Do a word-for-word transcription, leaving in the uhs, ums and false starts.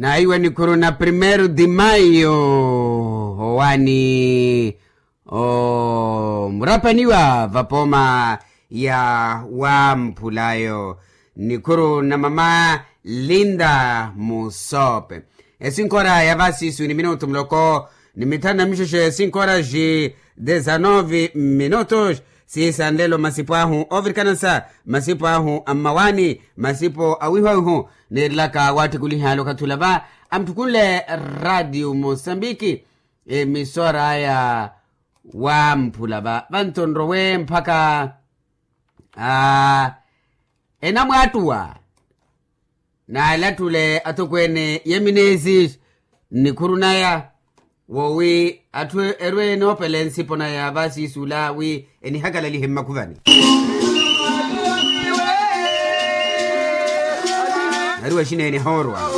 Naiwa nikhuru na primeiro de maio, owani omurapaniwa vapooma ya wamphulayo. Nikhuru na mama Linda Musope. Esinkora ya vasisu ni minutu muloko ni mithanu na mixexe, esinkora ji dezanove minutos. Siisanlelo masipo ahu ovirikanasa, masipo ahu a mmawani, masipo a wihuwihu. Niirelaka waattikuli hali okathi ula va amuttukunle radio mosambiki, emisora aya wamphula va vanto nrowe mpakha enamwaattuwa. Naalattule atokweene yemineesi nnikhuru naya, wowi atthu erwe noopela ensipo naya vasisu ula wi enihakalalihe mmakhuvani. Nari waxineene hoorwa.